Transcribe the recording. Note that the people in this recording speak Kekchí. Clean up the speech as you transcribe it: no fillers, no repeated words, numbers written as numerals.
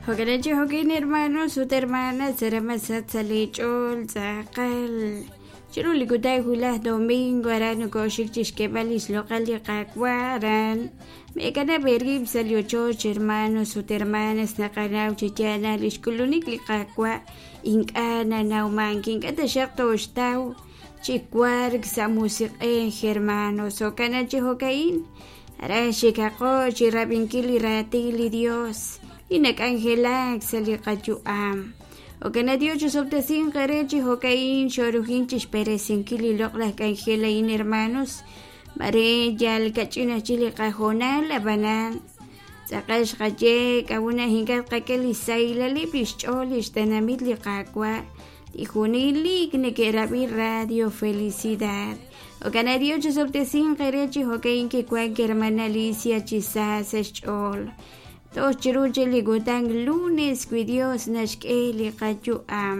Jo'kan chi jo'kin hermanos ut hermanas saramasat sa' li ch'ool tz'aqal chiru li kutan wulaj domingo aran nokoxik chixk'eeb'al lix loq'al li Qaawa' aran meekanab' eerib' sa' li ochoch hermanos ut hermanas naqanaw chi yaal naq lix k'ulunik li Qaawa' ink'a' nanawmank ink'a' taxaq tooxtaw chi wark sa' musiq'ej hermanos jo'kan chi jo'ka'in aran xikaqo chi rab'inkil li raatin li Dios li nak'anjelak sa' li qayu'am. Jo'kan Dios chisob'tesinq eere chi jo'ka'in xorujin chixb'eresinkil li loq'laj k'anjel a'in hermanos. Mare yal kach'in aj chik li qahoonal ab'anan tz'aqal xqaye k'a'ut ink'a' tqak'e li xsahilaleb' li xch'ool li xtenamit li Qaawa' li junelik neke'rab'i Radio Felicidad. Jo'kan Dios chisob'tesinq eere chi jo'ka'in kiwank hermana Alicia chi sa sa' xch'ool. Toj chiru chik li kutan lunes wi Dios naxk'e li qayu'am.